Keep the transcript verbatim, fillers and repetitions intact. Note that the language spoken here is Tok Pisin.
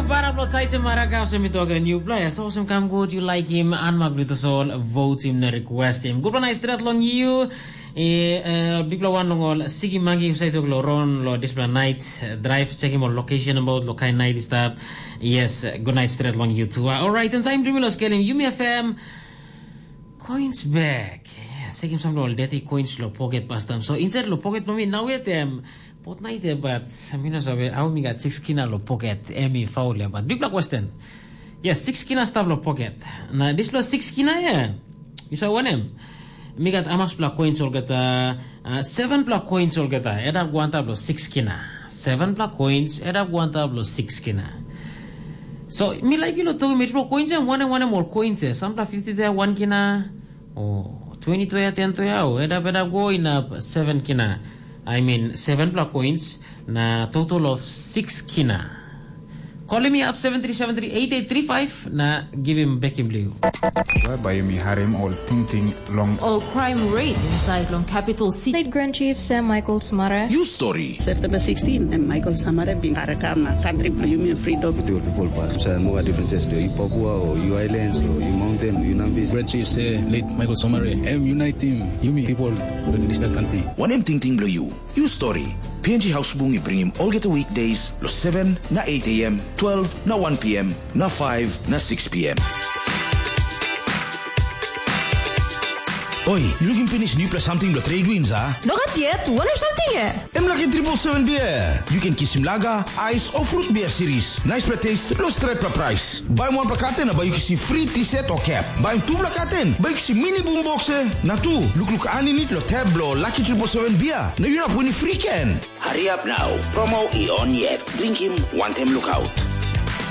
Bara bilong Taita Maraka olsem mi tok, nupela ya olsem kam gut, yu laikim anmak bilong tasol, votim na requestim. Gutpela nait stret long yu. E, uh, bikpela wan long ol siki mangi husat tok lo ron lo dispela night, uh, drive, checkim ol location about lo kain night i stap. Yes, uh, good night stret long you too. Uh, alright, and time dumi lo skelim Yumi F M. Coins bag. Yeah, sekim sam lo deti coins lo pocket pastam. So inside lo pocket mami now yet em pot night e, but mi no sabe how mi got six kina lo pocket emi faul ya, but big black question. Yes, six kina stap lo pocket. Na this plus six kina ya. You saw one em. Mi got amas pla coins olgeta, uh, seven pla coins olgeta. Edap guanta lo six kina. Seven pla coins edap guanta lo six kina. So mi like you lo togi mi pla coins em one one em all coins e. Some pla fifty there one kina. Oh, twenty to ya, ten to ya, oh, edap edap go inap seven kina. I mean, seven pla coins na total of six kina. Calling me up seven three seven three eight eight three five na give him back him blue. Whereby mi harim ol tingting long all crime rate inside long capital city. State Grand Chief Sam Michael Smara. You story. September sixteen, and Michael Samara bin karakam na country bilong yumi freedom. With your people pass. So no differences to you Papua or you islands or you mountain, you Nambis. Grand Chief say late Michael Samara. Em unite team. Yumi people in this country. One em tingting bilong you. You story. P N G House Bung i bringim olgeta weekdays lo seven na eight a m, twelve na one p m, na five na six p m. Oi, you looking finish new plus something lo trade winds, ah? Nogat yet, what if something eh? Em lucky triple seven beer. You can kisim lager, ice or fruit beer series. Nice pla taste, lo stretch pla price. Buy one pla carton, buy you kisim free t-shirt or cap. Buy two pla carton, buy you kisim mini boom box eh. Na tu, look look aninit lo tab lo lucky triple seven beer. Na you not winning free can. Hurry up now. Promo i on yet. Drink him one time look out.